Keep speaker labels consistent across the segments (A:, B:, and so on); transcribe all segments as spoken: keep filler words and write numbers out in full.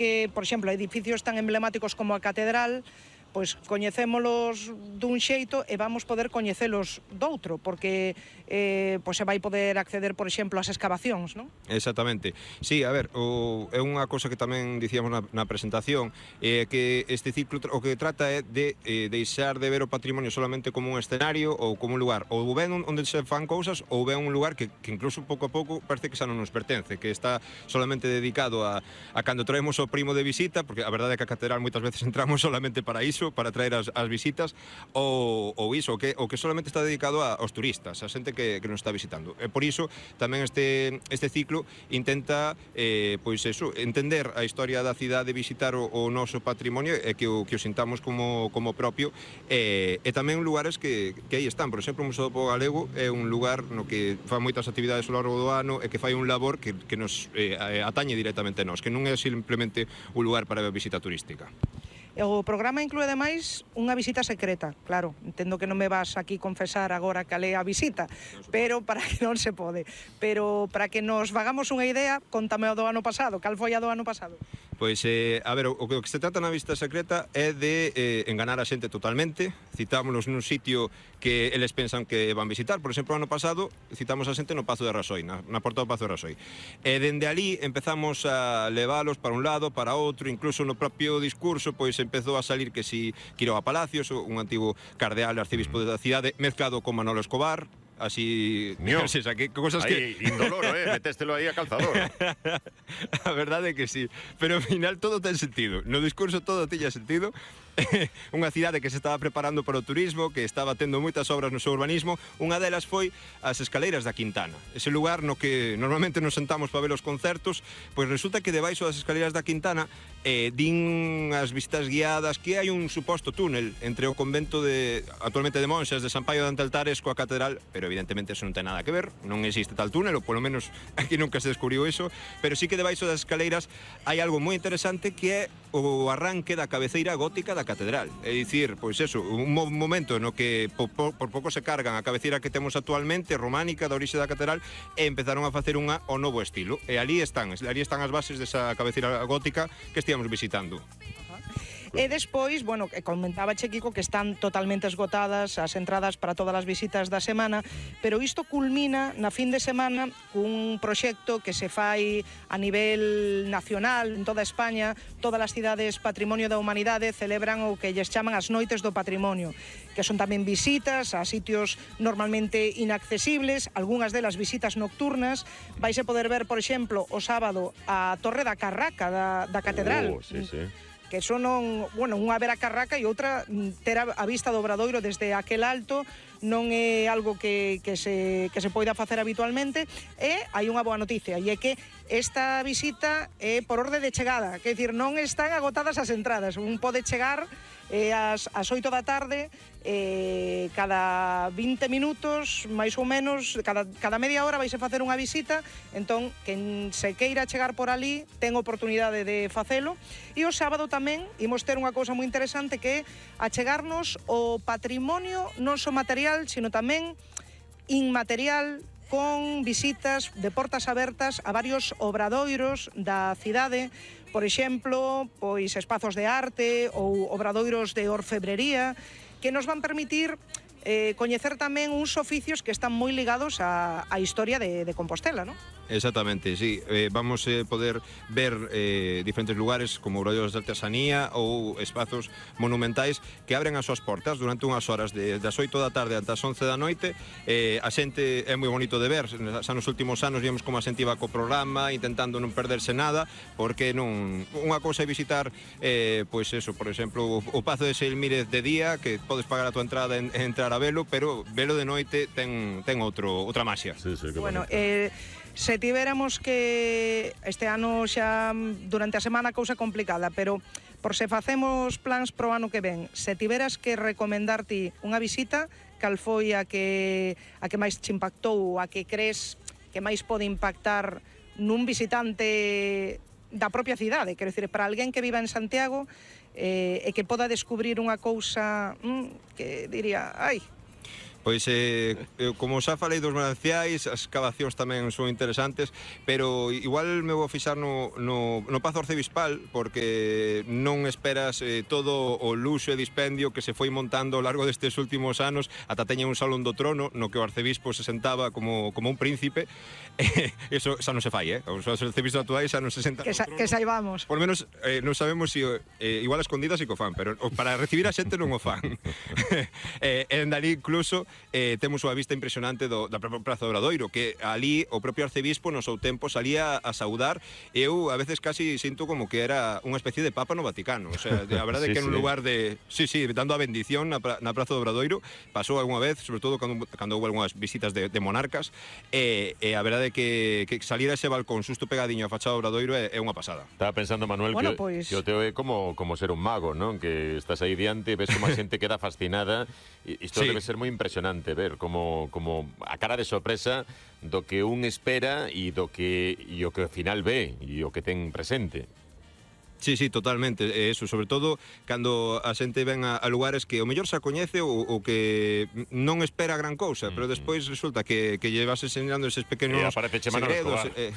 A: que, por exemplo, edificios tan emblemáticos como a Catedral, pois coñecémolos dun xeito e vamos poder coñecelos doutro, porque eh, pois se vai poder acceder, por exemplo, ás excavacións, non?
B: Exactamente. Sí, a ver, o, é unha cosa que tamén dicíamos na, na presentación, é eh, que este ciclo o que trata é de eh, deixar de ver o patrimonio solamente como un escenario ou como un lugar, ou ben onde se fan cousas, ou ben un lugar que, que incluso pouco a pouco parece que xa non nos pertence, que está solamente dedicado a, a cando traemos o primo de visita, porque a verdade é que a catedral moitas veces entramos solamente para iso, para traer as, as visitas, ou, ou iso, que, o que solamente está dedicado a, aos turistas, a xente que, que nos está visitando. E por iso tamén este, este ciclo intenta eh, pois eso, entender a historia da cidade, visitar o, o noso patrimonio e que o, que o sintamos como, como propio, e, e tamén lugares que, que aí están. Por exemplo, o Museo do Pobo Galego é un lugar no que fa moitas actividades ao longo do ano e que fai un labor que, que nos eh, atañe directamente a nós, que non é simplemente un lugar para a visita turística.
A: O programa inclúe, ademais, unha visita secreta. Claro, entendo que non me vas aquí confesar agora cal é a visita, pero para que non se pode. Pero para que nos vagamos unha idea, contame o do ano pasado. Cal foi a do ano pasado?
B: Pois, eh, a ver, o, o que se trata na visita secreta é de eh, enganar a xente totalmente. Citámonos nun sitio que eles pensan que van visitar. Por exemplo, o ano pasado citamos a xente no Pazo de Rasoi, na, na porta do Pazo de Rasoi. E dende ali empezamos a leválos para un lado, para outro, incluso no propio discurso, pois empezou a salir que si Quiroga Palacios, un antigo cardeal arcebispo da cidade, mezclado con Manolo Escobar, así...
C: Mío,
B: o sea, que cosas
C: aí,
B: que...
C: indoloro, eh, metéstelo aí a calzador.
B: A verdade é que sí, pero ao final todo ten sentido. No discurso todo tiña sentido. Unha cidade que se estaba preparando para o turismo, que estaba tendo moitas obras no seu urbanismo. Unha delas foi as escaleiras da Quintana, ese lugar no que normalmente nos sentamos para ver os concertos. Pois resulta que debaixo das escaleiras da Quintana eh, din as visitas guiadas que hai un suposto túnel entre o convento de actualmente de monxas de San Paio de Antaltares coa catedral, pero evidentemente eso non ten nada que ver, non existe tal túnel, ou polo menos aquí nunca se descubriu eso, pero sí que debaixo das escaleiras hai algo moi interesante que é o arranque da cabeceira gótica da catedral. É dicir, pois eso, un momento no que por, por, por pouco se cargan a cabeceira que temos actualmente, románica, da orixe da catedral, e empezaron a facer unha ao novo estilo. E ali están, ali están as bases desa cabeceira gótica que estíamos visitando.
A: E despois, bueno, comentaba che, Kiko, que están totalmente esgotadas as entradas para todas as visitas da semana, pero isto culmina na fin de semana cun proxecto que se fai a nivel nacional, en toda España. Todas as cidades Patrimonio da Humanidade celebran o que lles chaman as Noites do Patrimonio, que son tamén visitas a sitios normalmente inaccesibles, algunhas delas visitas nocturnas. Vais a poder ver, por exemplo, o sábado a Torre da Carraca da, da Catedral.
C: Oh, sí, sí.
A: Que son, non, bueno, unha ver a Carraca e outra ter a, a vista do Obradoiro desde aquel alto. Non é algo que, que, se, que se poida facer habitualmente. E hai unha boa noticia, e é que esta visita é por orde de chegada, que é dicir, non están agotadas as entradas. Un pode chegar eh, ás, ás oito da tarde, eh, cada vinte minutos, máis ou menos, cada, cada media hora vais a facer unha visita. Entón, quen se queira chegar por ali ten oportunidade de facelo. E o sábado tamén imos ter unha cousa moi interesante, que é achegarnos o patrimonio non só material, sino tamén inmaterial, con visitas de portas abertas a varios obradoiros da cidade. Por exemplo, pois espazos de arte ou obradoiros de orfebrería, que nos van permitir eh, coñecer tamén uns oficios que están moi ligados á, á historia de, de Compostela, non?
B: Exactamente, sí. Eh, vamos a eh, poder ver eh, diferentes lugares como obradoiros de artesanía ou espazos monumentais que abren as súas portas durante unhas horas de, das oito da tarde ata as once da noite. Eh, a xente é moi bonito de ver. Xa nos últimos anos vimos como a xente iba co programa intentando non perderse nada, porque non unha cousa é visitar eh, pois eso, por exemplo, o, o Pazo de Seilmírez de día, que podes pagar a tua entrada e entrar a velo, pero velo de noite ten, ten outro, outra maxia.
C: Sí, sí,
A: bueno, eh, se tivéramos que este ano xa durante a semana cousa complicada, pero por se facemos plans pro ano que ven, se tiveras que recomendar ti unha visita, cal foi a que a que máis te impactou, a que crees que máis pode impactar nun visitante da propia cidade? Quero dicir, para alguén que viva en Santiago eh, e que poda descubrir unha cousa mm, que diría, ai,
B: Pois, eh, como xa falei dos mananciais, as cavacións tamén son interesantes, pero igual me vou fixar no, no, no Pazo Arcebispal, porque non esperas eh, todo o luxo e dispendio que se foi montando ao largo destes últimos anos, ata teña un salón do trono, no que o arcebispo se sentaba como, como un príncipe. Eh, eso xa non se fai, eh? Os arcebispos actuais xa non se sentan
A: que, sa,
B: no trono.
A: Que saibamos.
B: Por lo menos, eh, non sabemos se si, eh, igual a escondidas e que o fan, pero para recibir a xente non o fan. eh, en dali incluso eh, temos unha vista impresionante do, da Praza do Obradoiro, que ali o propio arcebispo no seu tempo salía a saudar, e eu a veces casi sinto como que era unha especie de papa no Vaticano. O sea, a verdade sí, é que en un sí. lugar de... Sí, sí, dando a bendición na, na Praza do Obradoiro, pasou algunha vez, sobre todo cando, cando houve algunhas visitas de, de monarcas, e, e a verdade é que, que salir a ese balcón xusto pegadiño a fachada do Obradoiro é, é unha pasada.
D: Estaba pensando, Manuel, bueno, que, pues... que o teo é como, como ser un mago, ¿no? Que estás aí diante, ves como a xente queda fascinada, e isto sí. debe ser moi impresionante ver como, como a cara de sorpresa do que un espera e do que e o que ao final ve e o que ten presente.
B: Sí, sí, totalmente, é eso, sobre todo cando a xente ven a, a lugares que o mellor xa coñece ou, ou que non espera gran cousa, mm, pero despois resulta que, que lle vas enseñando eses pequenos segredos, e eh,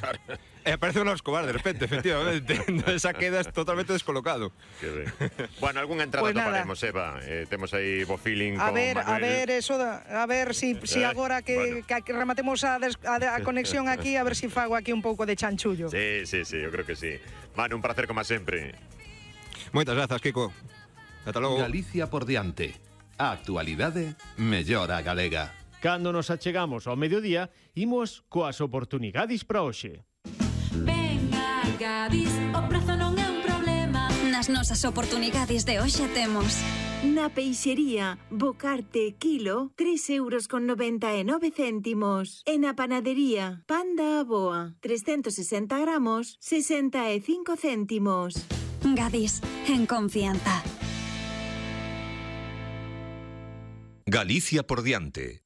B: eh, aparece Manolo Escobar de repente, efectivamente, esa quedas totalmente descolocado.
C: Que ben. Bueno, algunha entrada pues toparemos, Eva, eh, temos aí bo feeling
A: a
C: con
A: ver,
C: Manuel.
A: A ver, eso, da, a ver si, si agora que, bueno. que, que rematemos a, des, a, a conexión aquí, a ver si fago aquí un pouco de chanchullo.
C: Sí, sí, sí, eu creo que sí. Manu, un placer como sempre.
B: Moitas grazas, Kiko. Ata logo.
E: Galicia por diante. A actualidade mellora galega.
F: Cando nos achegamos ao mediodía, imos coas oportunidades para hoxe.
G: Venga, Gadis, o prazo non é un problema. Nas nosas oportunidades de hoxe temos
H: na peixería Bocarte kilo tres euros con noventa e nove céntimos. E na panadería Panda Aboa trescentos sesenta gramos sesenta e cinco céntimos.
G: Gadis, en confianza.
E: Galicia por diante.